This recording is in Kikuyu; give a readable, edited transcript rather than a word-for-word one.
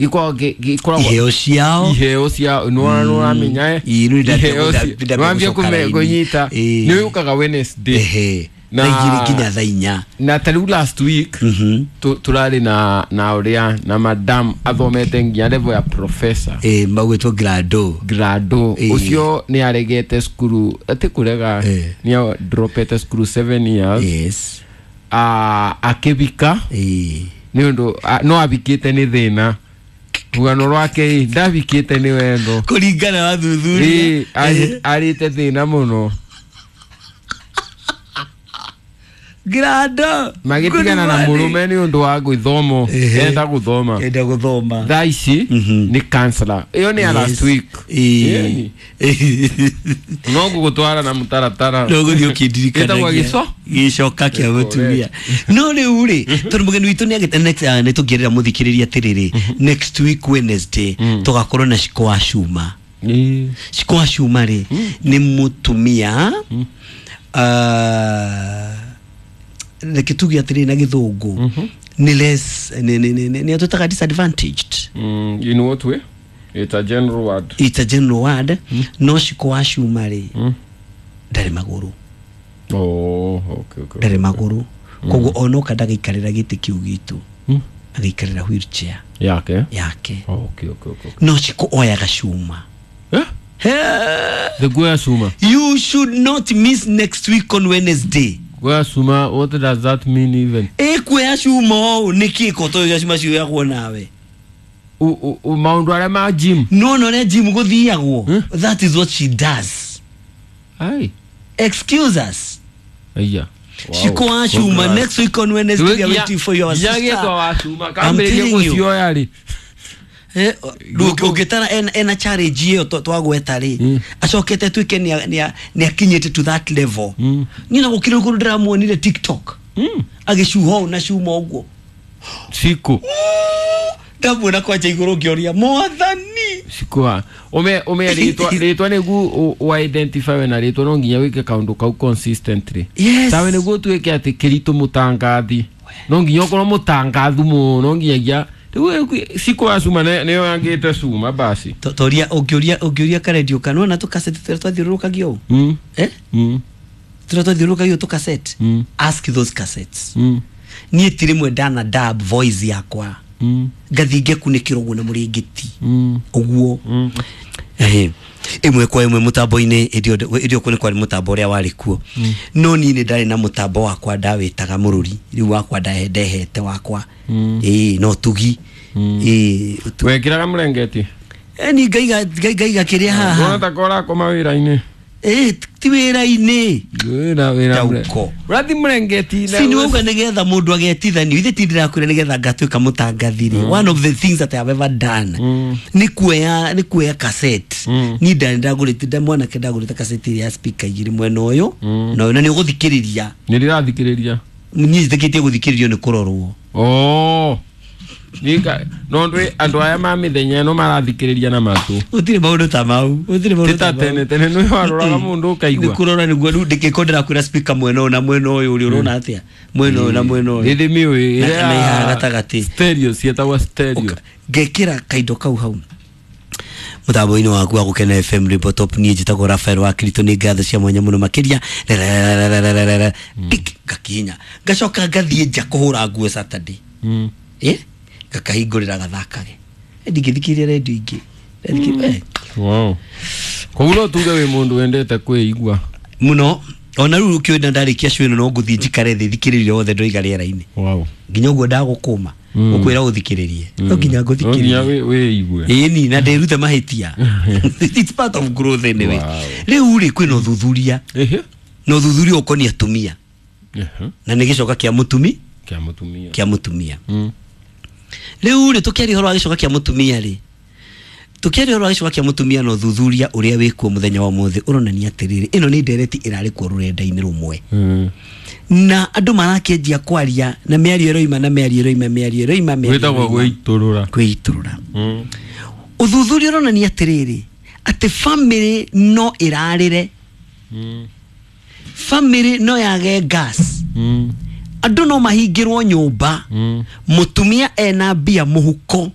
Gikoragwo Iheo ciao. Iheo cia nũramenya. Ĩĩ, rĩu ndambia gũcoka raini. Kũnyita. Ĩĩ. Nĩ ũkaga Wednesday. Ehe. Na- Thaa 2 nginya thaa 4. Na ta rĩu last week tũrarĩ na ũrĩa na madam athomete nginya level ya professor. Ĩĩ, magwĩtwo Grado. Grado. Ĩĩ. Ũcio nĩ aregete cukuru, atĩ kũrega, nĩ dropete cukuru 7 years. Ah, akĩbika. Nĩ ũndũ no abikĩte nĩ thĩna, rũgano rwake ĩ, ndabikĩte nĩ wendo. Kũringana na thuthuria. Ĩ, arĩte thĩna mũno. Grado. Magĩtigana na Good morning. mũrũme nĩ ũndũ wa gwĩthomo. Enda gũthoma. Enda gũthoma. Thaa ici nĩ counselor. Ĩyo nĩ ya last week. Ĩĩ. No ngũgũtwara na mũtaratara. No gũthiĩ Ĩtagwo ũkĩndirikanagia. gĩco? Gĩcoka kĩa mũtumia. No rĩu rĩ, tondũ mũgeni witũ nĩ agĩte next, nĩ tũngĩerera mũthikĩrĩria atĩrĩrĩ, next week Wednesday tũgakorwo na Ciko wa Cuma. Ciko wa Cuma rĩ, nĩ mũtumia, reke tuge atĩrĩrĩ na gĩthũngũ, nĩ less nĩ atwĩtaga disadvantaged. In what way? It's a general word. It's a general word. No Ciko wa Cuma rĩ, ndarĩ magũrũ. Oh, okay. Ndarĩ magũrũ, koguo onoka ndagaikarĩra gĩtĩ kĩu gitũ, agaikarĩra wheelchair Yake. yake. Oh, okay. No Ciko oyaga cuma. Eh? The guya suma. You should not miss next week on Wednesday. Guya suma, what does that mean even? Ĩkuoya cuma ũũ nĩkĩ kotoya cuma cioyagwo nawe? Maũndũ arĩa ma gym. No na ũrĩa gym gũthiagwo, that is what she does. Ai. Excuse us. Aya. Ciko wa Cuma next week on Wednesday, we are waiting for your sister. sister. Wa cuma. I'm Kambĩrĩria telling you. gũcioya rĩ. Rĩu ũngĩtara ena challenge ĩyo twagweta rĩ, acokete tuĩke nĩ akinyĩte to that level. Niĩ na gũkĩrĩ ũguo ndĩramuonire TikTok agĩcuha ũũ na cuma ũguo. Ciku. Ndamuona kwanja igũrũ ngĩoria mwathani. Cikua. Ume rĩtwa nĩguo wa identify we na rĩtwa no nginya wĩke kaũndũ kau consistently. Yes. Tawe nĩguo tuĩke atĩ kĩritũ mũtangathi. No nginya ũkorwo mũtangathu mũno nginyagia rĩu Ciko wa Cuma nĩyo yangĩte cuma basi. Toria ũngĩũria karendio kana na tũkaseti tũrĩa twathiũrũrũkagio ũũ. Eh? Tũrĩa twathiũrũrũkagio tũkaseti. Ask those cassettes. Niĩ ti rĩmwe ndana dub voice yakwa. Ngathiĩ ngekunĩkĩra ũguo na mũrĩngĩti. Ũguo. Ehe. Ĩmwe kwa ĩmwe mũtambo-inĩ ĩndĩ ĩndĩ ĩyo nĩ kwarĩ mũtambo ũrĩa warĩ kuo, no niĩ nĩ ndarĩ na mũtambo wakwa ndawĩtaga mũrũri rĩu wakwa ndehete wakwa, ĩĩ, no tugi ĩĩ Wekĩraga mũrengeti. Ni ngaiga kĩrĩa Wona haha. ta korakoma wĩra-inĩ. Ĩĩ, ti wĩra-inĩ. Wĩra Dauko. ũrathi mũrengeti. Si nĩ wauga nĩgetha mũndũ agetithanio, ithe ti ndĩrakwĩra nĩgetha ngatuĩka mũtangathi rĩ, one of the things that I have ever done nĩ kuoya cassette. Niĩ ndarĩ ndagũrĩte nda mwanake ndagũrĩte cassette ĩrĩa ya speaker igĩrĩ mwena ũyũ na ũyũ, na nĩ ũgũthikĩrĩria. Nĩ ndĩrathikĩrĩria. Niĩ njĩtĩkĩtie gũthikĩrĩrio nĩ kũrorwo. Oh. Nika no ndwe andũ aya ma mĩthenya ĩno marathikĩrĩria na matũ. Gũtirĩ maũndũ ta mau, gũtirĩ maũndũ Ti ta ta mau. tene tene nĩ waroraga mũndũ Nĩ ũkaigua. kũrora nĩguo rĩu ndĩkĩko ndĩrakwĩra speaker mwena ũyũ na mwena ũyũ ũrĩ ũrona atĩa mwena ũyũ na mwena ũyũ. Rĩrĩ mĩũĩ. Na ihaha gatagatĩ. Stereo, ciĩtagwo stereo. Ngekĩra kaindo kau hau mũtambo-inĩ waku wa Gũkena FM Rainbow Top. Niĩ njĩtagwo Rafael wa Kirito, nĩ ngatho cia mwanya mũno makĩria. Rerererererere, tik, ngakinya ngacoka ngathiĩ nja kũhũra nguo Saturday. Ĩ, ngakahingũrĩra gathakage. Ndingĩthikĩrĩria redio ingĩ. Wow. Koguo no tuge wĩ mũndũ wendete kwĩigua. Mũno, ona rĩu ũkĩona ndarĩkia show ĩno no ngũthiĩ njikare thĩ thikĩrĩrie othe ndoiga rĩera-inĩ. Nginya ũguo ndagũkũma ũkwĩra ũthikĩrĩrie, no nginya No nginya ngũthikĩrĩrie. Wĩigue. Ĩni na ndĩrute mahĩtia, it's part of growth anyway. Rĩu rĩ, kwĩna ũthuthuria na ũthuthuria ũkoniĩ atumia na nĩ gĩcoka kĩa mũtumi. Kĩa mũtumia. Kĩa mũtumia. Rĩu rĩ, tũkĩaria ũhoro wa gĩcoka kĩa mũtumia rĩ, tũkĩaria ũhoro wa gĩcoka kĩa mũtumia na ũthuthuria ũrĩa wĩkuo mũthenya wa ũmũthĩ ũronania atĩrĩrĩ, ĩno nĩ ndereti ĩrarĩ kuo rũrenda-inĩ rũmwe na andũ marakĩanjia kwaria na mĩario ĩroima na mĩario ĩroima mĩario ĩroima mĩario Gwĩtagwo ĩroima. gwĩitũrũra. Kwĩitũrũra. Ũthuthuria ũronania atĩrĩrĩ, atĩ family no ĩrarĩre, family no yage gas. Andũ no mahingĩrwo nyũmba, mũtumia ena mbia mũhuko.